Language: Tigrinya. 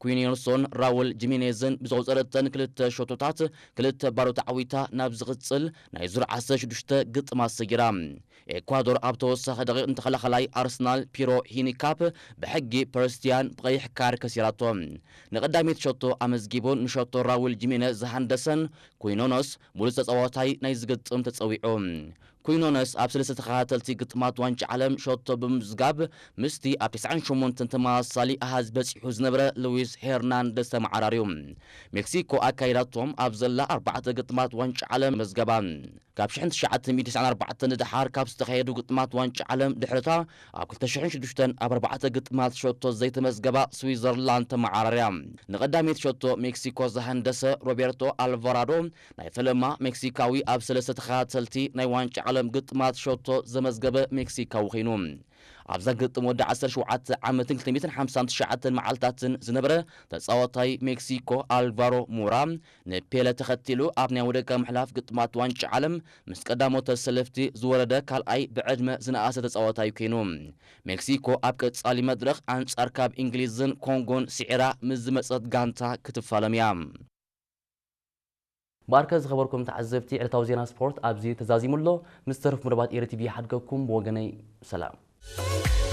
ኩይኖነስን ራውል ጂሜኔዝን ብዘቑጸረተን ክልተ ሸቶታት ክልተ ባዶ ተዓዊታ ናብ ዝቕጽል ናይ ዙር ዓሰርተ ሽዱሽተ ግጥማት ሰጊራ። ኤኳዶር ኣብ ተወሳኺ ደቂቕ ንተኸላኸላይ ኣርሰናል ፒሮ ሂኒካፕ ብሕጊ ፐርስቲያን ብቐይሕ ካርድ ከሲራቶ። ንቐዳመይቲ ሸቶ ኣመዝጊቡን ንሸቶ ራውል ጂሜኔዝ ዝሃንደሰን ኩይኖነስ ሙሉእ ተጻዋታይ ናይ ዝግጥም ተጸዊዑ። ኩይኖነስ ኣብ ሰለስተ ተኸታተልቲ ግጥማት ዋንጫ ዓለም ሸቶ ብምምዝጋብ ምስቲ ኣብ ተስዓን ሸሞንተን ተመሳሳሊ ኣሃዝ በጺሑ ዝነበረ ሉዊስ ሄርናንደስ ተመዓራርዩ። ሜክሲኮ ኣካይዳቶም ኣብ ዘላ ኣርባዕተ ግጥማት ዋንጫ ዓለም መዝገባ። ካብ ሽሕን ትሽዓተ ሚእትን ተስዓን ኣርባዕተን ንደሓር ካብ ዝተኻየዱ ግጥማት ዋንጫ ዓለም ድሕርታ ኣብ ክልተ ሽሕን ሽዱሽተን ኣብ ኣርባዕተ ግጥማት ሸቶ ዘይተመዝገባ ስዊዘርላንድ ተመዓራርያ። ንቐዳመይቲ ሸቶ ሜክሲኮ ዝሃንደሰ ሮቤርቶ ኣልቫራዶ ናይ ፈለማ ሜክሲካዊ ኣብ ሰለስተ ተኸታተልቲ ናይ ዋንጫ ዓለም ግጥማት ሸቶ ዘመዝገበ ሜክሲካዊ ኮይኑ። ኣብዛ ግጥም ወዲ ዓሰርተ ሸውዓተ ዓመትን ክልተ ሚእትን ሓምሳን ትሽዓተን መዓልታትን ዝነበረ ተጻዋታይ ሜክሲኮ ኣልቫሮ ሞራ ንፔለ ተኸቲሉ ኣብ ናይ ወደቀ ምሕላፍ ግጥማት ዋንጫ ዓለም ምስ ቀዳሞት ተሰለፍቲ ዝወረደ ካልኣይ ብዕድመ ዝነኣሰ ተጻዋታይ ኮይኑ። ሜክሲኮ ኣብ ቀጻሊ መድረኽ ኣንጻር ካብ እንግሊዝን ኮንጎን ስዒራ ምስ ዝመጸት ጋንታ ክትፋለም እያ። ባርከ ዝኸበርኩም ተዓዘብቲ፣ ዕለታዊ ዜና ስፖርት ኣብዚ ተዛዚሙ ኣሎ። ምስ ተረፍ መደባት ኤሪ ቲቪ ይሓድገኩም። ብወገነይ ሰላም።